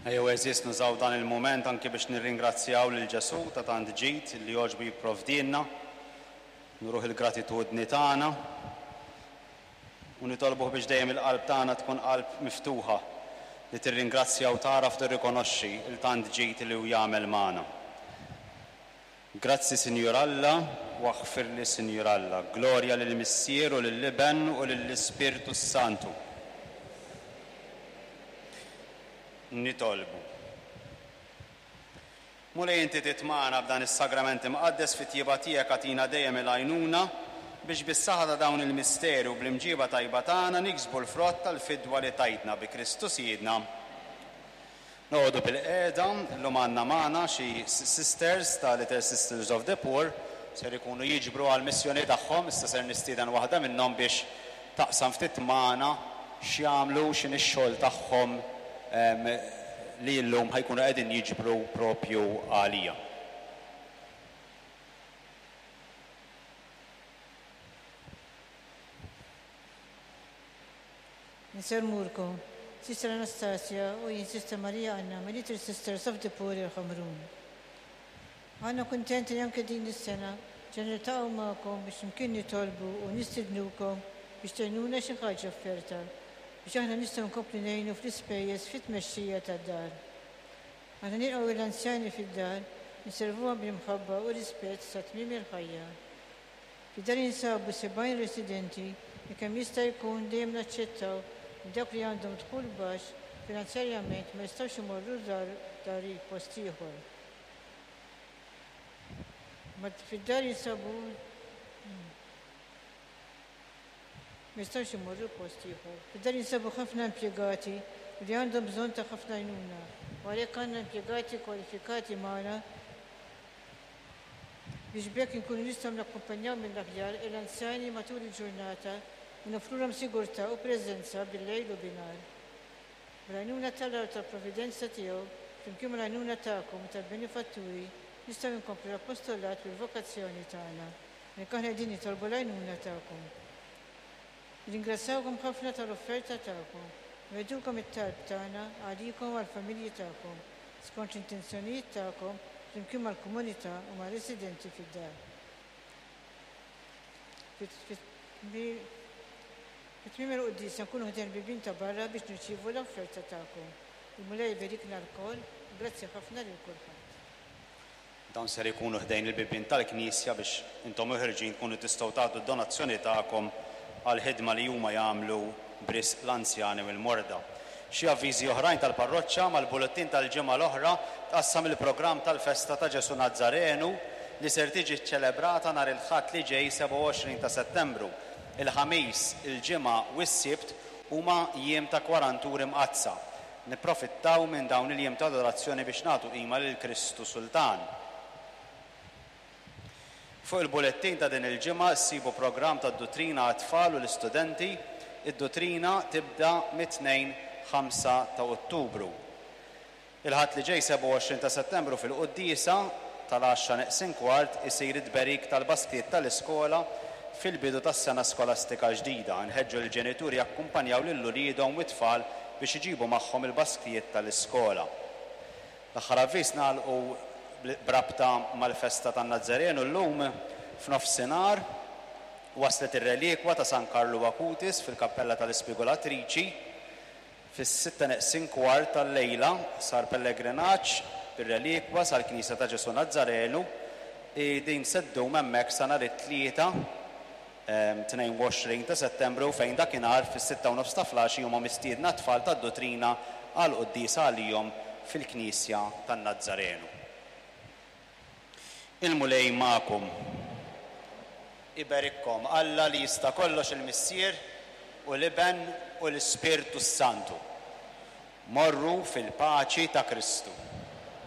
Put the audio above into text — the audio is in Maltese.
Ejjew għeżież nużaw dan il-mument anki biex nirringrazzjaw lil Ġesù ta' tant ġid li jogħġbu jipprovdielna, nuruh il-gratitudni tagħna u nitolbuh biex dejjem il-qalb tagħna tkun qalb miftuħa li tirringrazzja u tagħraf tirrikonoxxi l-tant ġid li hu jagħmel magħna. Grazzi Sinjur Alla u aħfirli Sinjur Alla. Glorja lill-Missier u lill-Iben u lill-Ispirtu s-Santu. Nitolbu. Mulej inti titmagħna b'dan is-Sagrament Imqaddes fit-tjieba tiegħek agħtina dejjem il-għajnuna biex bis-saħħa ta' dawn il-misteri u bl-imġieba tajba tagħna niksbu l-frott tal-fidwa li tajtna bi Kristu Sidna. Noqogħdu bilqiegħda, illum għandna magħna xi sisters ta' Little Sisters of the Poor, ser ikunu jiġbru għall-missjoni tagħhom, issa ser nistieden waħda minnhom biex taqsam ftit magħna x'jagħmlu, x'inhi x-xogħol tagħhom li llum ħa jkunu qegħdin jiġbru propju għalija. Insellmulkom, Sister Anastasia u jien Sister Maria Anna mill-Little Sisters of the Poor il-Ħamrun. Aħna kuntenti li anke din is-sena ġa niltaqgħu magħkom biex flimkien nitolbu u nistidnukom biex tgħinuna xi ħaġa offerta biex aħna nistgħu nkomplu ngħinu fl-ispejjeż fit-tmexxija tad-dar. Aħna nilqgħu lill-anzjani fid-dar, inservuhom bl-imħabba u rispett sa tmiem il-ħajja. Fid-dar jinsabu 70 residenti li kemm jista' jkun dejjem naċċettaw li dawk li għandhom dħul baxx finanzjarjament ma jistgħux imorru dar dari post ieħor. Ma fid-dar jinsabu ma jistgħux imorru post ieħor. Fid-dar jinsabu ħafna impjegati li għandhom bżonn ta' ħafna għajnuna u għalhekk għandna impjegati kwalifikati magħna biex b'hekk inkunu nistgħu nakkumpanjaw mill-aħjar l-anzjani matul il-ġurnata u noffrulhom sigurtà u preżenza bil-lejl u binhar. Bl-għajnuna t'Alla u tal-providenza tiegħu, flimkien mal-għajnuna tagħkom u tal-benefatturi, nistgħu nkomplu l-apostollat bil-vokazzjoni tagħna. Għalhekk aħna qegħdin nitolbu l-għajnuna tagħkom. Nirringrazzjawkom ħafna tal-offerta tagħkom. Nwegħdukom it-talb tagħna għalikom u għall-familji tagħkom, skont l-intenzjonijiet tagħkom flimkien mal-komunità u mar-residenti fid-dar. Fi tmiem il-quddiesa nkunu ħdejn il-bibien ta' barra biex nirċievu l-offerta tagħkom. Il-Mulej iberikna lkoll. Grazzi ħafna lil kulħadd. Dawn ser ikunu ħdejn il-bibien tal-knisja biex intom u ħerġin tkunu tistgħu tagħtu d-donazzjoni tagħkom għall-ħidma li huma jagħmlu b'risq l-anzjani u l-morda. Xi avviżi oħrajn tal-parroċċa, Mal-bullettin tal-ġimgħa l-oħra tqassam il-programm tal-festa ta' Ġesù Nazzarenu li ser tiġi ċċelebrata nhar il-Ħadd li ġej 27 ta' Settembru. Il-Ħamis, il-Ġimgħa u s-Sibt huma jiem ta' Kwaranturi Mqaddsa. Nipprofittaw minn dawn il-jiem ta' adorazzjoni biex nagħtu qima lil Kristu Sultan. Fuq il-bulettin ta' din il-ġimgħa ssibu programm tad-duttrina għat-tfal u l-istudenti. Id-duttrina tibda mit-Tnejn 5 ta' Ottubru. Il-Ħadd li ġej 27 ta' Settembru fil-quddiesa tal-għaxra neqsin kwart isir it-tberik tal-basktijiet tal-iskola fil-bidu tas-sena skolastika l-ġdida. Inħeġġu lill-ġenituri jakkumpanjaw lil uliedhom u t-tfal biex iġibu magħhom il-basktijiet tal-iskola. L-aħħar avviż nagħlqu b'rabta mal-festa tan-Nazzarenu llum f'nofsinhar waslet ir-relikwa ta' San Karlu Acutis fil-Kappella tal-Ispigulatriċi. Fis-sitta neqsin kwart tal-lejla sar pellegrinaġġ bir-relikwa sal-Knisja ta' Ġesù Nazzarenu i din se ddum hemmhekk sa nhar it-Tlieta 22 ta' Settembru fejn dakinhar fis-sitta u nofs ta' flaxi huma mistiedna t-tfal tad-Dutrina għal quddiesa għalihom fil-Knisja tan-Nazzarenu. Il-Mulej magħkom. Iberikkom Alla li jista' kollox il-Missier u l-Iben u l-Ispirtu s-Santu. Morru fil-paċi ta' Kristu.